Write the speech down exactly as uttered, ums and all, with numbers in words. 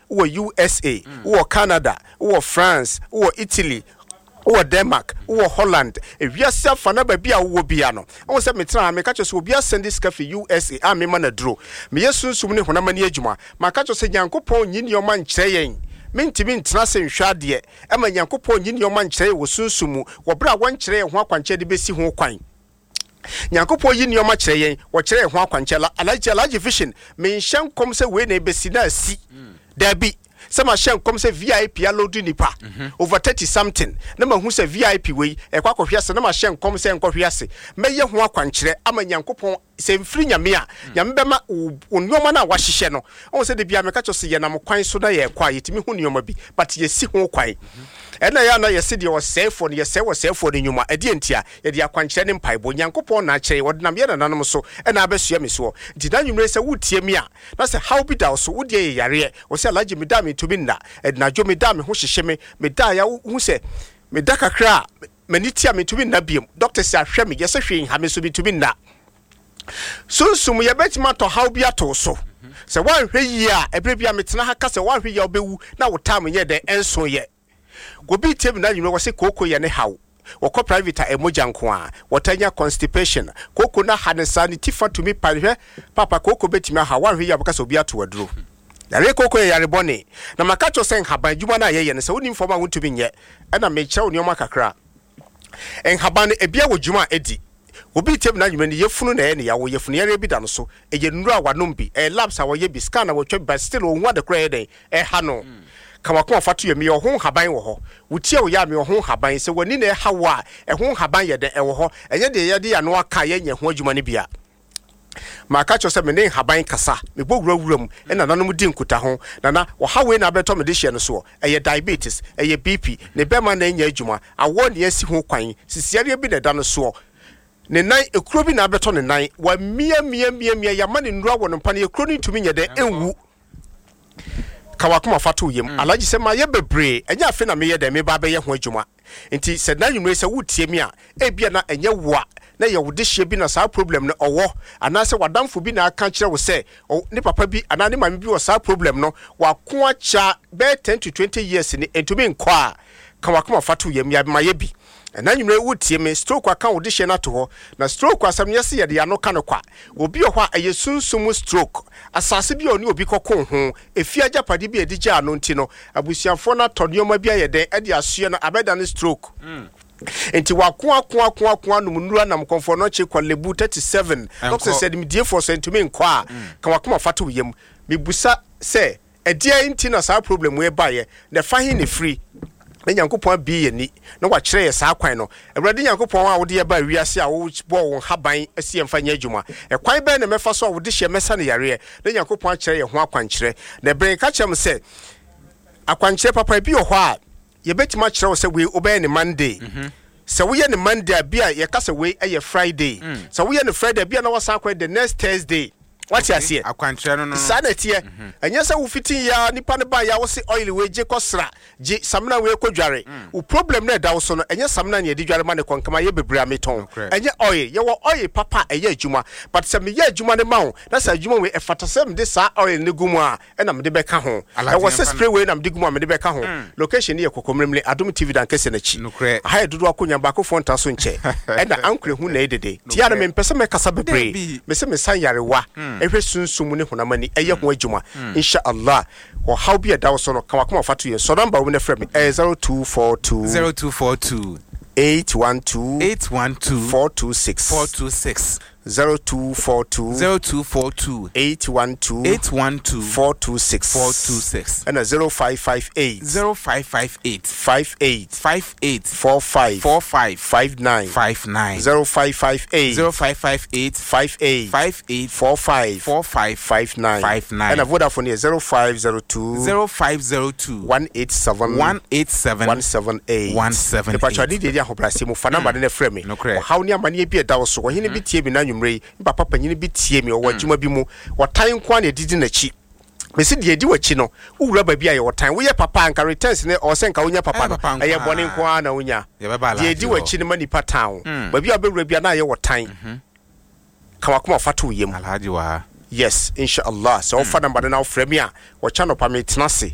Wowɔ U S A, wowɔ Canada, wowɔ France, wowɔ Italy, wowɔ Denmark, wowɔ Holland, ewiase afa na baabi a wowɔ bia no, ɛwɔ sɛ metena ha meka kyerɛ sɛ obi asend sika fi U S A a mema no aduro. Meyɛ sunsum ne honam ani adwuma. Maka kyerɛ sɛ Nyankopɔn nyi nneɔma nkyerɛ yɛn. Mentumi ntena se nhwɛ adeɛ ɛma Nyankopɔn nyi nneɔma nkyerɛ yɛn wɔ sunsum mu wɔ berɛ a wɔnkyerɛ yɛn ho akwankyerɛ de bɛsi ho kwan. Nyankopɔn yi nneɔma kyerɛ yɛn, wɔkyerɛ yɛn ho akwankyerɛ. Alhaji, Alhaji Vision, menhyɛ nkɔm sɛ wei na ɛbɛsi na asi. Daabi, sɛ mahyɛ nkɔm sɛ V I P aload nipa over thirty something na mahu sɛ V I P wei ɛkɔ akɔhwe ase na mahyɛ nkɔm sɛ nkɔhwe ase, mɛyɛ ho akwankyerɛ ama Nyankopɔn. Sɛ mfiri Nyame a, Nyame bɛma wo nneɔma no a wahyehyɛ no. Ɔhu sɛ de bia meka kyerɛ sɛ yɛnam kwan so na yɛkɔ a, yɛtumi hu nneɔma bi, but yɛsi ho kwan. Ɛna yɛ ana yɛse deɛ ɔsɛefoɔ no, yɛsɛe wɔsɛefoɔ no nnwuma. Ɛdeɛ nti a yɛde akwankyerɛ ne mpaebɔ, Nyankopɔn na akyerɛ, wɔde nam yɛ nananom so ɛna abɛsua me soɔ. Nti na nwummerɛ sɛ wotie mi a, na sɛ haw bi da wo so, wodeɛ yɛ yareɛ, wɔ sɛ, "Alhaji, meda mentumi nna, ɛdinadwo meda me ho hyehye me, meda ya wohu sɛ meda kakra a m'ani tia, mentumi nna biom, doctor sɛ ahwɛ me, yɛsɛ hwee nha me so, mentumi nna." Sunsum yɛbɛtumi atɔ haw bi ato so sɛ woanhwɛ yie a, ɛberɛ bi a metena ha ka sɛ woanhwɛ yie a, wobɛwu na wo time nyɛ dɛn ɛnso yɛ. Obi tie mi na nwummerɛ wɔ sɛ kooko yɛ ne haw, wɔkɔ private a, ɛmogya nko a wɔta nya constipation, kooko no aha ne saa, ne ti fa tumi pa. Hwɛ papa, kooko bɛtumi aha. Woanhwɛ yie a, bɛka sɛ obi ato aduro. Yare kooko yɛ yare bɔne. Na maka kyerɛ sɛ nhaban adwuma no a yɛyɛ no, sɛ wonim fam a, wontumi nyɛ. Ɛna mekyerɛ wo nneɔma kakra. Nhaban no ebia wɔ dwuma a ɛdi. Obi tie mi na nwummerɛ no, yɛfunu na ɛyɛ ne yawo, yɛfunu yareɛ bi da no so, ɛyɛ nnuro a wanom bi, ɛyɛ labs a wɔyɛ bi, scan a wɔtwa bi, but still ɔhu ade korɔ ɛyɛ dɛn ɛha no. Ka wakoma fa to yɛ. Meyɛ ɔho nhaban wɔ hɔ. Wotie wo yɛ a, meyɛ ɔho nhaban. Sɛ w'ani na ɛha wo a, ɛho nhaban yɛ dɛn ɛwɔ hɔ. Ɛnyɛ deɛ yɛde ano aka, yɛnyɛ ho adwuma no bia. Maka kyerɛ sɛ mene nhaban kasa, mebɔ wurawura mu ɛna nanom di nkuta ho. Nana, ɔha wei na abɛtɔ mede hyɛ no soɔ, ɛyɛ diabetes, ɛyɛ B P, ne bɛma na ɛnyɛ adwuma, awɔ ne asi ho kwan, sisiareɛ bi na ɛda no soɔ, ne nan ekuro bi na abɛtɔ ne nan, wamia mia mia mia, yama ne nnura wɔ no mpa no, ekuro no ntumi nyɛ dɛ ɛnwu. Ka wakoma fa to yam mm. Alhaji, sɛ mayɛ bebree, ɛnyɛ afe na meyɛ dɛ meba abɛyɛ ho adwuma. Nti sɛ na nwumire sɛ wotie mi a, ebia na ɛnyɛ wo a na yɛ wo dehyeɛ bi na saa problem no ɔwɔ, anaasɛ wadamfo bi na aka kyerɛ wo sɛ ne papa bi anaa ne maame bi wɔ saa problem no, wako akyɛ bɛyɛ ten to twenty years ni, ntumi nkɔ a, ka wakoma fa to yam. Yɛmayɛ bi. Ɛna nwumire wotie me, stroke aka wo dehyeɛ no ato hɔ. Na stroke asɛm no, yɛsɛ yɛde ano ka no kwa. Obi wɔ hɔ a ɛyɛ sunsum stroke, asase bi a ɔne obi kɔko ho, efi agyapade bi a ɛde gyaa no nti no, abusuafoɔ no atɔ nneɛma bi ayɛ dɛn ɛde asoɛ no, abɛda no stroke. Nti wako ako ako ako, anom nnura, nam kɔnfɔ no akyi kɔ lebu thirty-seven, doctor sɛ nimdiefoɔ sɛ ntumi nkɔ a, ka wakoma fa to yam. Mebusa sɛ ɛdeɛ nti na saa problem wei baeɛ, na ɛfa he ne firi, na Nyankopɔn abie yɛ ni na wakyerɛ yɛ saa kwan no. Awurade Nyankopɔn a wode yɛba wiase a wobɔɔ wo nhaban asi yɛmfa nyɛ adwuma, ɛkwan bɛn na mɛfa so a wode hyɛ mɛsa no yareɛ? Na Nyankopɔn akyerɛ yɛ ho akwankyerɛ. Na ɛberɛ ka kyerɛ m sɛ akwankyerɛ papa bi wɔ hɔ a yɛbɛtumi akyerɛ wo sɛ wei wobɛyɛ ne Monday. Sɛ woyɛ ne Monday a, bi a yɛka sɛ wei ɛyɛ Friday. Sɛ woyɛ ne Friday bi a, na wasan akɔyɛ the next Thursday. Wate aseɛ? Akwankyerɛ no no. Saa na ɛteɛ. Ɛnyɛ sɛ wofiti ya nipa no ba ya, wo se oil wei gye kɔ sra, gye samina wei kɔ dware. Wo problem no ɛda wo so no, ɛnyɛ samina ne yɛde dware ma ne kɔ nkama yɛ bebree a metɔn. Ɛnyɛ oil. Yɛwɔ oil papa a ɛyɛ adwuma, but sɛ meyɛ adwuma no ma wo na sɛ adwuma wei ɛfata sɛ mede saa oil no gu mu a, ɛna mede bɛka ho. Ɛwɔ sɛ spray wei na mede gu mu a, mede bɛka ho. Location no yɛ Kɔkɔmmeremle, Adom T V dan kɛseɛ n'akyi. Aha yɛ dodoɔ akonnwa baakofoɔ nta so nkyɛ, ɛna ankorɛ hu na ɛdede tia no. Mempɛ sɛ mɛkasa bebree. Mesɛ mesan yarewa, ɛhwɛ sunsum ne honam ani, ɛyɛ ho adwuma, insha Allah. Ɔhaw bi a ɛda wo so no, ka wakoma fa to yɛn sɔ number wo no frɛ me, ɛyɛ zero two four two zero two four two eight one two eight one two four two six. four two six. zero two four two zero two four two eight one two eight one two four two six. four two six. Ɛna zero five five eight zero five five eight five eight five eight four five four five five nine. five nine. zero five five eight zero five five eight five eight five eight four five four five five nine. five nine. Ɛna Vodafone yɛ zero five zero two zero five zero two one eight seven one eight seven one seven eight. one seven eight. Mepatwa ne deɛ di ahobrɛaseɛ mu, fa number no na frɛ me. Nokorɛ. Ɔhaw ne amanneɛ bi a ɛda wo so, ɔhene bi tie me na anwummerɛ yi, me papa panyini bi tie me, ɔwɔ adwuma bi mu, wɔtan nko a na ɛdidi n'akyi. Mesi deɛ ɛdi w'akyi no, wowura baabi a yɛwɔ tan, woyɛ papa a, nka returns ne ɔwɔ sɛ nka wonya papa Ɛyɛ no, papa nko ɛyɛ ara. bɔne nko ara na wonya. Yɛbɛba Deɛ ɛdi Alhaji hɔ. w'akyi no ma nipa tan wo. Baabi a wobɛwura bi a na ayɛ wɔ tan, ka wakoma fa to wo yam. Alhaji wɔ ha. Yes, inshallah. Sɛ wofa number no na wofrɛ me a, wɔkyɛ nɔpa metena ase.